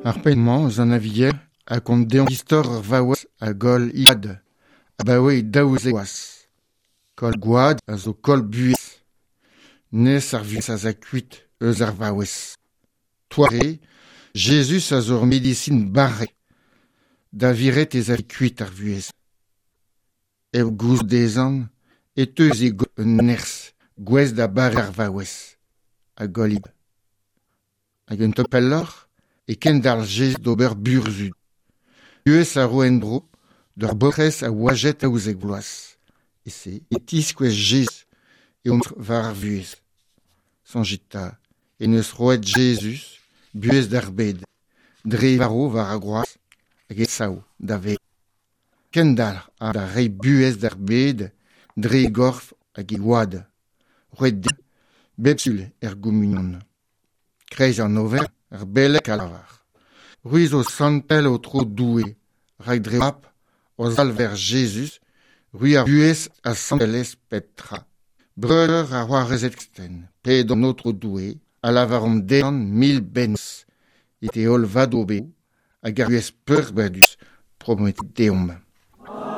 Ar penn-mañ eus an Aviel a gont deomp istor ur vaouez a goll he gwad abaoe 12 vloaz. Koll gwad a zo koll buhez. Nes ar vuhez a za kuit eus ar vaouez. Toare, Jezuz a zo ur medisin barrek da viret ez afe kuit ar vuhez. Hep gouzout dezhañ e teu eus e gorf un nerzh gouest da bareañ ar vaouez a goll he gwad. Hag un tamm pelloc'h e kendalc'h Jezuz d'ober burzhud. Buhez a ro en-dro d'ur baotrez a oajet 12 vloaz. E-se e tiskouez Jezuz eo mestr war ar vuhez. Soñjit 'ta en deus roet Jezuz buhez d'ar bed, dre e varv war ar groaz hag e sav da vev. Kendalc'h a ra da reiñ buhez d'ar bed dre e gorf hag e gwad, roet dimp bep sul er gomunion. Kreiz an oferenn, ar beleg a lavar C'hwi zo santel Aotrou Doue, rak dre ho Mab, hor Salver Jezuz, c'hwi ar vuhez ha santelezh pep tra. Breudeur ha c'hoarezed kristen, pedomp an Aotrou Doue ha lavaromp dezhañ mil bennozh evit e holl vadoberoù hag ar vuhez peurbadus prometet deomp.